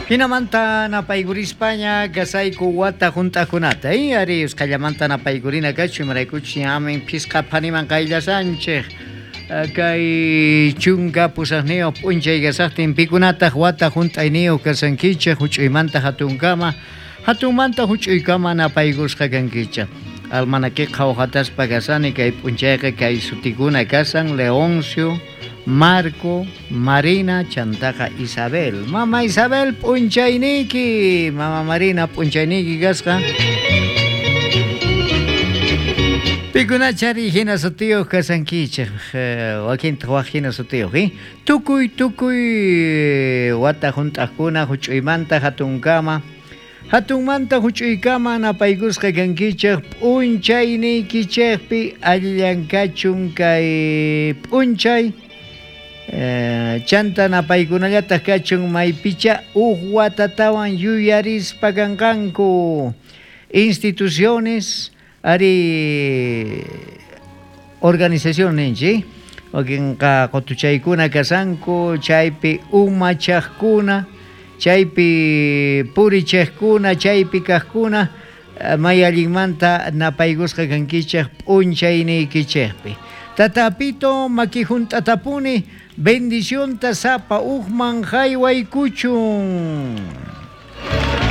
Jinamanta napaykurispaña kasayku wata hunt'aqkunata, ari usqhallamanta napaykurina kachun, imaraykuchus ñamin phisqa phaniman qayllasanchej. Kay 18 p'unchay kasaqtin pikunataq wata hunt'ayniyuq kasankichej huch'uymanta hatunkama, hatunmanta huch'uykama napaykusqa kankichej. Almanakiqa qhawhataspa kasani kay p'unchayqa kay sutikuna kasan Leoncio, Marco, Marina, chantaqa Isabel. Mama Isabel p'unchayniyki, Mama Marina p'unchayniyki kasqa. Pikunachari hina sutiyuq kasankichej, wakintaq waj hina sutiyuq, Tukuy tukuy wata hunt'aqkuna huch'uymanta hatunkama, hatunmanta huch'uykama napaykusqa kankichej p'unchayniykichejpi allillan kachun kay p'unchay. Chanta napaykunallataq kachun maypicha uj watatawan yuyarispa kanqanku instituciones ari organización ninchik wakinqa qutuchaykuna kasanku chaypi umachaqkuna chaypi purichiqkuna chaypi kaqkuna may allinmanta napaykusqa kankichej p'unchayniykichejpi. Tata Pito maki hunt'atapuni bendicionta sapa ujman haywaykuchun.